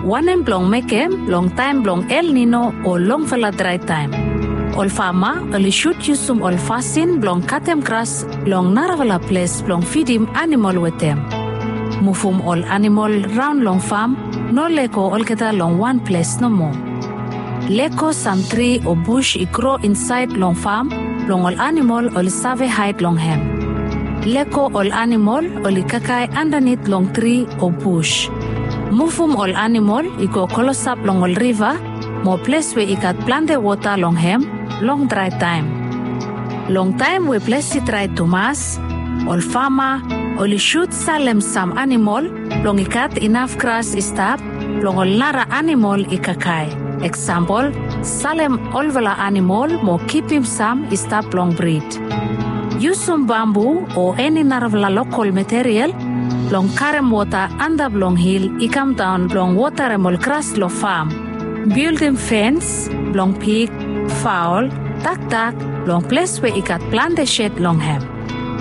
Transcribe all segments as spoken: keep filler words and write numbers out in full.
Wanem blong mekem long taem blong El Nino o longfala drae taem? Ol fama oli sud yusum ol fasin blong katem gras long narafala ples blong fidim anamol wetem. Muvum ol anamol raon long fam, no lego olgeta long wan ples nomo. Lego sam tri o bus i gro insaed long fam blong ol anamol oli save haed long hem. Lego ol anamol oli kakae andanit long tri o bus. Muvum ol anamol i go klosap long ol riva mo ples we i gat plante wota long hem long drae taem. Long taem we ples i drae tumas, ol fama oli sud salem sam anamol blong i gat inaf gras i stap blong ol nara anamol i kakae. Eksampol, salem olfala anamol mo kipim sam i stap blong brid. Yusum bambu o eni narafala lokol material blong karem wota antap long hil i kamdaon blong wotarem ol gras long fam. Bildim fens blong pig, faol, dakdak long ples we i gat plante sed long hem.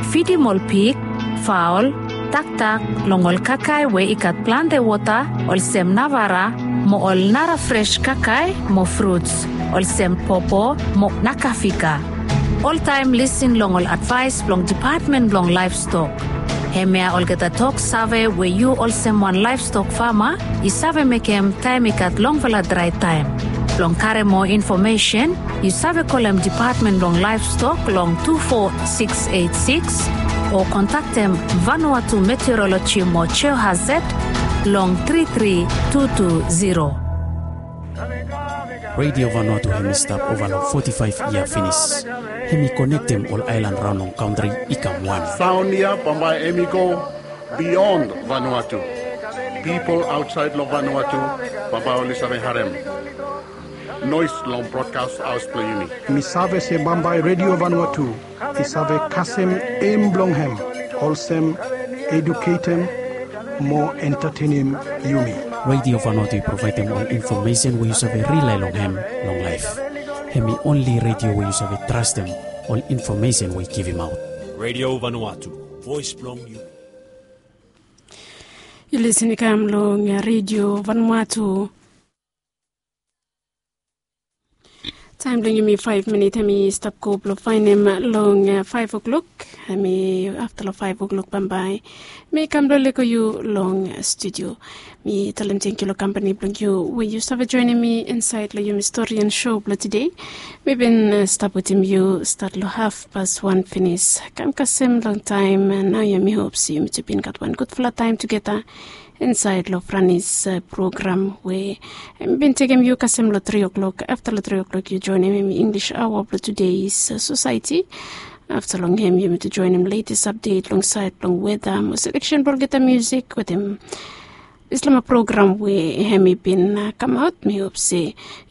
Fidim ol pig, faol, dakdak long ol kakae we i gat plante wota olsem navara mo ol nara fres kakae mo fruts olsem popo mo nakafika. Oltaem lisin long ol advaes blong Dipatmen blong Laevstok. Hemia olgeta tok save we yu olsem wan laevstok fama i save mekem taem i gat longfala drae taem. Blong karem moa infomesen, yu save kolem Dipatmen blong Laevstok long tu fo siks eit siks o kontaktem Vanuatu Meteoroloji mo Geohazard long tri tri tu tu ziro. Radio Vanuatu hem i stap ova long foti faef yia finis. Hem i konektem ol aelan raon long kantri i kam wan. Saon ya bambae hem i go bion Vanuatu. Pipol aotsaed long Vanuatu bambae oli save harem noes long brodkas haos blong yumi. Mi save se bambae Radio Vanuatu i save kasem em blong hem olsem eduketem mo entatenem yumi. Radio Vanuatu i provaedem ol infomesen we yu save rilae long hem long laef. Hem i onli radio we yu save trastem ol infomesen we i givimaot. Radio Vanuatu, voes blong yumi. Yu lisin i kam long Radio Vanuatu. Taem blong yumi faef minit hem i stap go blong faenem long faef oklok. Hem i afta long faef oklok bambae mi kam blong lego yu long studio. Mi talem tangkiu long kampani blong yu we yu save joenem mi insaed long yumi stori and show blong tede. Mi bin stap wetem yu stat long hafpas wan finis kam kasem long taem. Nao ya mi hop se yumi tu bin gat wan gudfala taem tugeta insaed long Franis program we hem i bin tekem yu kasem long tri oklok. Afta long tri oklok yu joenem hem i Inglis aoa blong tudeis sosaeti. Afta long hem yumi tu joenem letes apdet long saed blong weta mo seleksen blong olgeta musik wetem dislama program we hem i bin kamaot. Mi hop se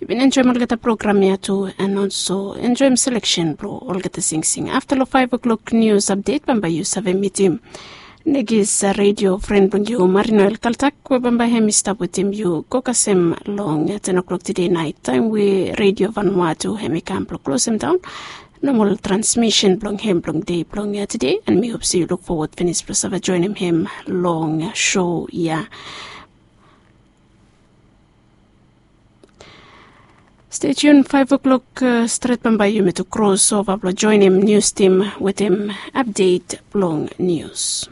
yu bin enjoem olgeta program ya tu and olso enjoem seleksen blong olgeta singsing. Afta long faef oklok nius apdet bambae yu save mitim Negis redio fren blong yu Marinoel Kaltak we bambae hem i stap wetem yu go kasem long ten oklok tede naet taem we redio Vanuatu hem i kam blong klosem daon nomol transmisen blong hem blong dei blong tede. And mi hop se yu luk fowod finis blong save joenem hem long show ya. Stay tuned, five o'clock stret bambae yumi tu kros ova blong joenem nius tim wetem apdet blong nius.